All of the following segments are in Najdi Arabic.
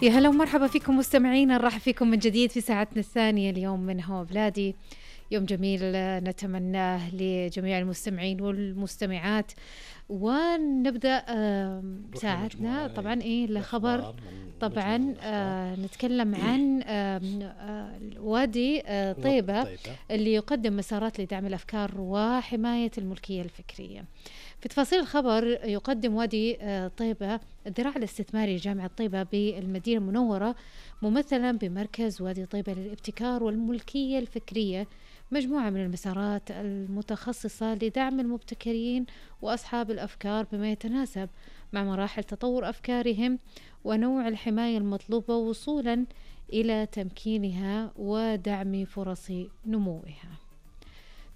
يا هلا ومرحبا فيكم مستمعينا، نرحب فيكم من جديد في ساعتنا الثانية اليوم من هوا بلادي. يوم جميل نتمناه لجميع المستمعين والمستمعات. ونبدأ ساعتنا طبعا الخبر. طبعا نتكلم عن وادي طيبة اللي يقدم مسارات لدعم الأفكار وحماية الملكية الفكرية. في تفاصيل الخبر، يقدم وادي طيبة الذراع الاستثماري لجامعة طيبة بالمدينة المنورة ممثلا بمركز وادي طيبة للابتكار والملكية الفكرية مجموعة من المسارات المتخصصة لدعم المبتكرين وأصحاب الأفكار بما يتناسب مع مراحل تطور أفكارهم ونوع الحماية المطلوبة وصولا إلى تمكينها ودعم فرص نموها.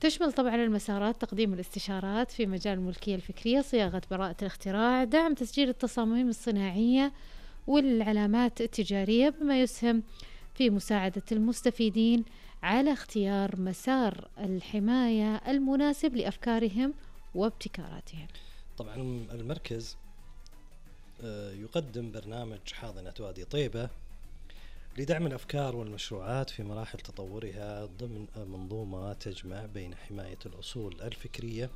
تشمل طبعا المسارات تقديم الاستشارات في مجال الملكية الفكرية، صياغة براءة الاختراع، دعم تسجيل التصاميم الصناعية والعلامات التجارية، بما يسهم في مساعدة المستفيدين على اختيار مسار الحماية المناسب لأفكارهم وابتكاراتهم. طبعا المركز يقدم برنامج حاضنة وادي طيبة لدعم الأفكار والمشروعات في مراحل تطورها ضمن منظومة تجمع بين حماية الأصول الفكرية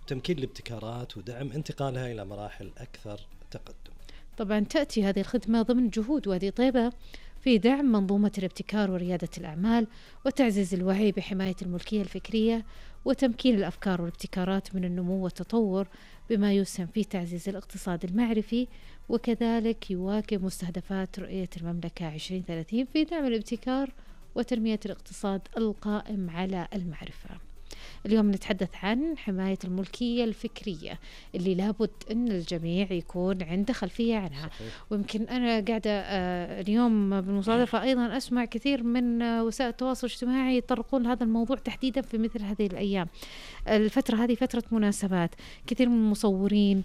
وتمكين الابتكارات ودعم انتقالها إلى مراحل أكثر تقدم. طبعا تأتي هذه الخدمة ضمن جهود وادي طيبة في دعم منظومة الابتكار وريادة الأعمال وتعزيز الوعي بحماية الملكية الفكرية وتمكين الأفكار والابتكارات من النمو والتطور، بما يسهم في تعزيز الاقتصاد المعرفي، وكذلك يواكب مستهدفات رؤية المملكة 2030 في دعم الابتكار وتنمية الاقتصاد القائم على المعرفة. اليوم نتحدث عن حماية الملكية الفكرية اللي لابد أن الجميع يكون عنده خلفية عنها. ويمكن أنا قاعدة اليوم بالمصادفة أيضا أسمع كثير من وسائل التواصل الاجتماعي يطرقون لهذا الموضوع تحديدا في مثل هذه الأيام. الفترة هذه فترة مناسبات، كثير من المصورين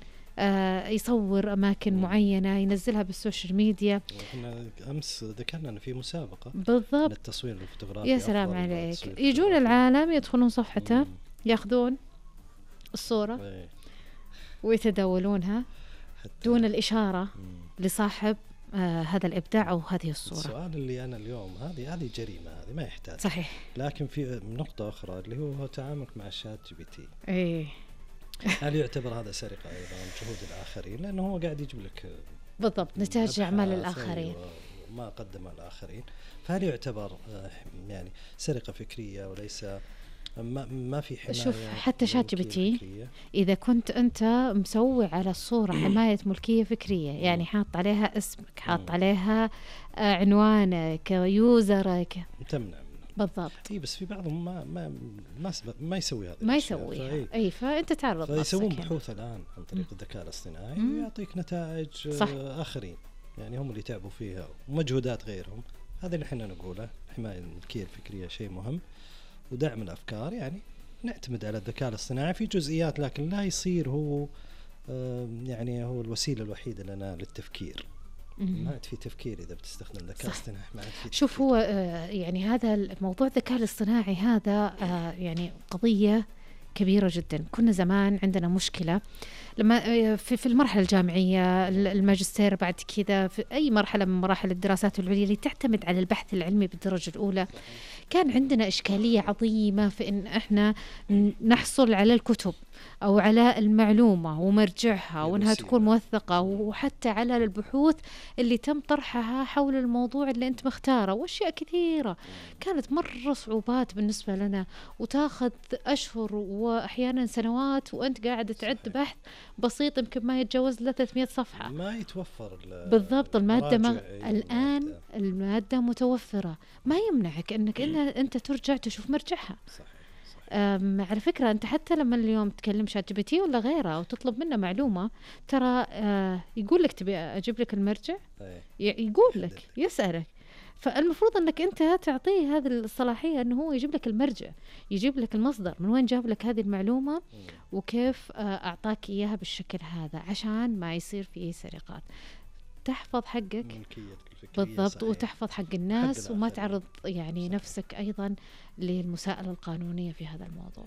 يصور أماكن معينة ينزلها بالسوشيال ميديا. احنا أمس ذكرنا أن في مسابقة بالضبط للتصوير الفوتوغرافي. يا سلام عليك، يجون العالم يدخلون صفحته ياخذون الصورة ويتداولونها دون الإشارة لصاحب هذا الإبداع أو هذه الصورة. السؤال اللي أنا اليوم هذه جريمة، هذه ما يحتاج. صحيح. لكن في نقطة أخرى اللي هو تعاملك مع الشات جي بي تي. إيه. هل يعتبر هذا سرقة أيضا جهود الآخرين؟ لأنه هو قاعد يجيب لك بالضبط نتاج أعمال الآخرين وما قدم الآخرين، فهل يعتبر يعني سرقة فكرية وليس ما في حماية؟ شوف حتى شات جي بي تي إذا كنت أنت مسوي على الصورة حماية ملكية فكرية، يعني حاط عليها اسمك، حاط عليها عنوانك ويوزرك، تمنع. بالضبط. اي بس في بعضهم ما يسوي هذا، ما يسويها. اي فانت تعرض نفسك. فيسوون بحوث الان عن طريق الذكاء الاصطناعي ويعطيك نتائج اخرين، يعني هم اللي تعبوا فيها ومجهودات غيرهم. هذا اللي احنا نقوله، حماية الملكية الفكرية شيء مهم ودعم الافكار، يعني نعتمد على الذكاء الاصطناعي في جزئيات، لكن لا يصير هو يعني هو الوسيلة الوحيدة لنا للتفكير. ما عاد في تفكير إذا بتستخدم الذكاء الاصطناعي. ما عاد في. شوف هو يعني هذا الموضوع الذكاء الاصطناعي هذا يعني قضية كبيرة جدا. كنا زمان عندنا مشكلة لما في المرحلة الجامعية، الماجستير، بعد كذا في أي مرحلة من مراحل الدراسات العليا اللي تعتمد على البحث العلمي بالدرجة الأولى، كان عندنا إشكالية عظيمة في إن إحنا نحصل على الكتب أو على المعلومة ومرجعها وإنها تكون موثقة، وحتى على البحوث اللي تم طرحها حول الموضوع اللي أنت مختاره، وأشياء كثيرة كانت مرة صعوبات بالنسبة لنا، وتاخذ أشهر وأحيانا سنوات وأنت قاعد تعد بحث بسيط يمكن ما يتجاوز 300 صفحة. ما يتوفر بالضبط المادة الآن المادة متوفرة، ما يمنعك أنك أنت ترجع تشوف مرجعها. صحيح. على فكرة أنت حتى لما اليوم تكلم شات جي بي تي ولا غيره أو تطلب منه معلومة، ترى يقول لك تبي أجيب لك المرجع، يقول لك، يسألك. فالمفروض أنك أنت تعطيه هذه الصلاحية أنه هو يجيب لك المرجع، يجيب لك المصدر من وين جاب لك هذه المعلومة وكيف أعطاك إياها بالشكل هذا، عشان ما يصير فيه سرقات. تحفظ حقك بالضبط، صحيح. وتحفظ حق الناس وما تعرض يعني نفسك أيضا للمساءلة القانونية في هذا الموضوع.